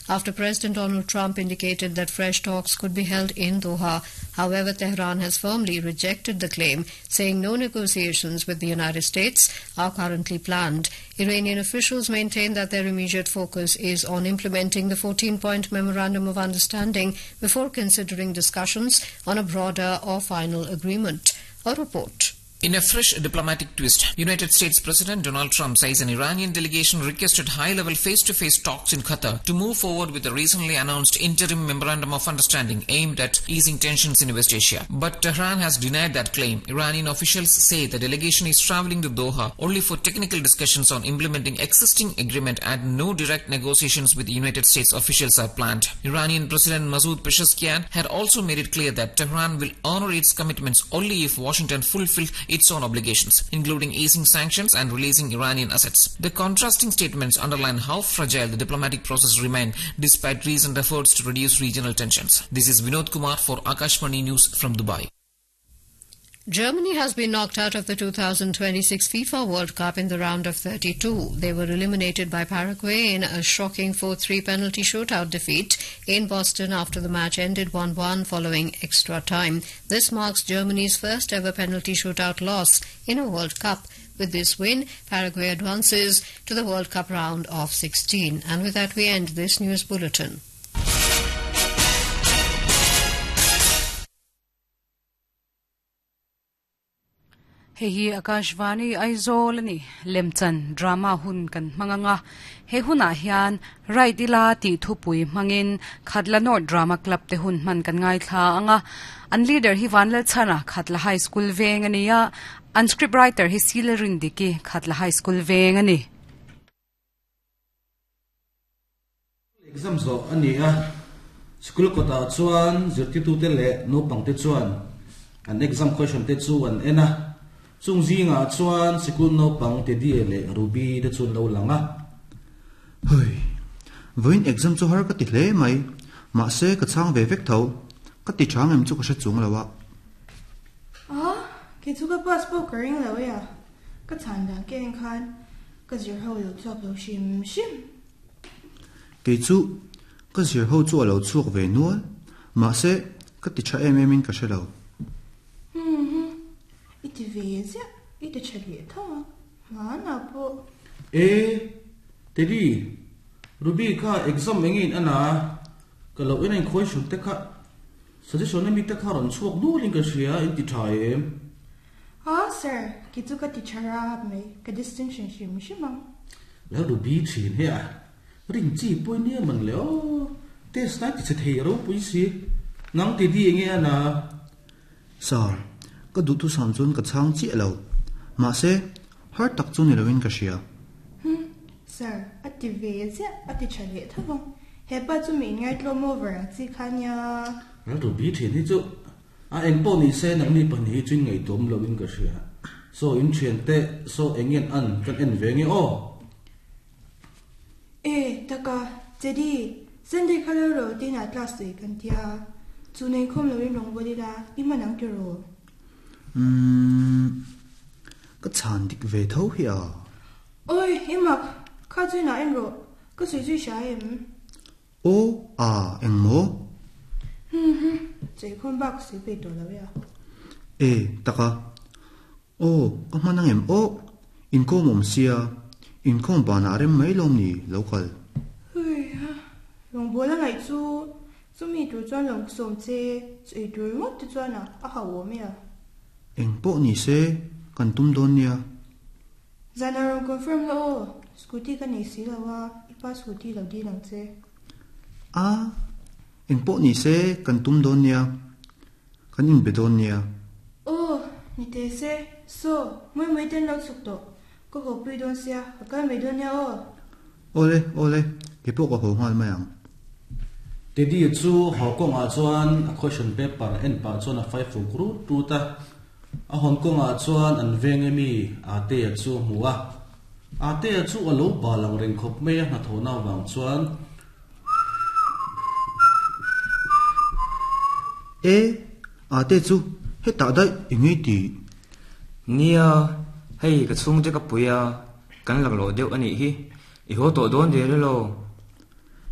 After President Donald Trump indicated that fresh talks could be held in Doha. However, Tehran has firmly rejected the claim, saying no negotiations with the United States are currently planned. Iranian officials maintain that their immediate focus is on implementing the 14 point Memorandum of Understanding before considering discussions on a broader or final agreement. A report. In a fresh diplomatic twist, United States President Donald Trump says an Iranian delegation requested high level face to face talks in Qatar to move forward with the recently announced interim memorandum of understanding aimed at easing tensions in West Asia. But Tehran has denied that claim. Iranian officials say the delegation is traveling to Doha only for technical discussions on implementing existing agreement and no direct negotiations with United States officials are planned. Iranian President Masoud Pezeshkian had also made it clear that Tehran will honor its commitments only if Washington fulfilled its own obligations, including easing sanctions and releasing Iranian assets. The contrasting statements underline how fragile the diplomatic process remained despite recent efforts to reduce regional tensions. This is Vinod Kumar for Akashvani News from Dubai. Germany has been knocked out of the 2026 FIFA World Cup in the round of 32. They were eliminated by Paraguay in a shocking 4-3 penalty shootout defeat in Boston after the match ended 1-1 following extra time. This marks Germany's first ever penalty shootout loss in a World Cup. With this win, Paraguay advances to the World Cup round of 16. And with that, we end this news bulletin. Hei hi Akashvani Aizawl a ni. Lemchan drama hun kan hmang anga. He hunah hian Right ila tih thupui hmangin Khatla North Drama Club te hun hman kan ngaithla anga. An leader hi Vanlalchhana Khatla High School veng a ni a, an script writer hi Sila Rindiki Khatla High School veng a ni. Exam zawh a ni a, school kawtah chuan zirtitute leh naupangte chuan an exam question te chu an en a, chung zingah chuan sikul naupang Teddy leh Ruby te chu an lo lang a. Hei, vawiin exam chu har ka ti hle mai, mahse ka chhang ve vek tho, ka ti tha ngem chu ka hre chung lo a. A, kei chu ka pass pawh ka ring lo e a, ka chhan dan ka en khan ka zir ho lo chhuak lo hrim hrim. Kei chu ka zir ho chu a lo chhuak ve nual, mahse ka ti tha em em in ka hre lo. Humm, i ti ve ziah, i ti tha leh tho ang, hmanah pawh. E, Teddy, Ruby kha exam eng in a na, ka lo en a inkhawi hrut te kha suggestion ami te kha rawn chhuak nual in ka hria, in ti tha em? Ah sir, kei chu ka ti tha rap mai, ka distinction hrim hrim ang. Lal Ruby thin hi a rin chi pawhin nia man le aw, test lai ti chhe thei ropui si, nang ti di enge a na? Sir, ka duhthusam chuan ka chhang chiah lo, mahse har tak chu ni loin ka hria. Humm, sir, a ti ve ziah, a ti tha leh tho vang, hepa chu mi inngaihtlawm over ang chi kha nia. Lal Ruby thin hi chu A eng pawh ni se nangni pahnih hi chu in ngaihtuam lo in ka hria. Saw in thian te saw eng ngen an kan en ve nge aw. E taka Teddy, Sunday kha lo ro tiin ah class tui kan tia, chu nei khawm lo in rawn vawl ila i hman ang tiraw? Umm, ka chhan dik ve tho hi a. Awi, i mak, kha chu inah en rawh, ka sawi zui hria em? Aw a eng maw? Hum hum, cheikhawm bak sawi peih tawh lo e a. E tak a. Aw ka hman ang em aw, inkawm awm sia, inkhawm banah rem mai lawm ni lo kal. Hui ha, rawngbâwl a ngaih chu, chumi tur chuan lo sawm che, chu ei tur ringawt te chuan a a hauh awm e a. Eng pawh ni se, kan tum dawn nia. Zan a rawn confirm la aw, scooty ka nei si lo a, i pa scooty lo dil ang che. A, engpawh ni se kan tum dawn nia, kan inbe dawn nia. Aw, ni teh se, saw, mawi mawi ten lo chhuk tawh, ka haw pui dawn sia, ka kal mai dawn nia aw. Awle, awle, keipawh ka haw nghal mai ang. Teddy chu haw kawngah chuan a question paper en pah chuan a fai fuk rut rut a. A hawn kawngah chuan an veng emi Atea chu a hmu a. Atea chu a lo bal ang reng khawp mai a hnathawhna avang chuan. E, Ate chu hetah daih i ngei tih? Nia, hei ka chhungte ka pui a, kan laklawh deuh a nih hi. I haw tawh dawn der elaw?